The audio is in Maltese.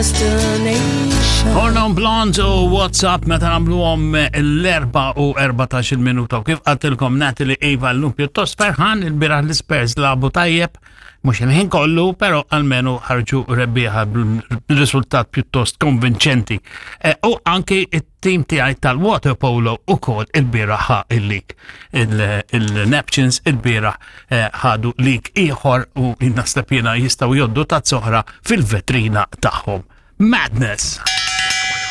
Destination. Hornon Blondes u WhatsApp meta nagħmluhom l-4 u 14 minuta u kif qaltilkom Natalie Eva llum pjuttost ferħan il-bieraħ l-Spurs lagħbu tajjeb mhux il-ħin kollu, però almenu ħarġu rebbieħa b'riżultat pjuttost konvinċenti. E, u anki it-tim tiegħi tal-water polo ukoll il-bieraħ ħa il-lig. Il-Neptunes il-bieraħ eh, ħadu lig ieħor u naħseb jiena jistgħu joddu tazza oħra fil-vetrina tagħhom. Madness!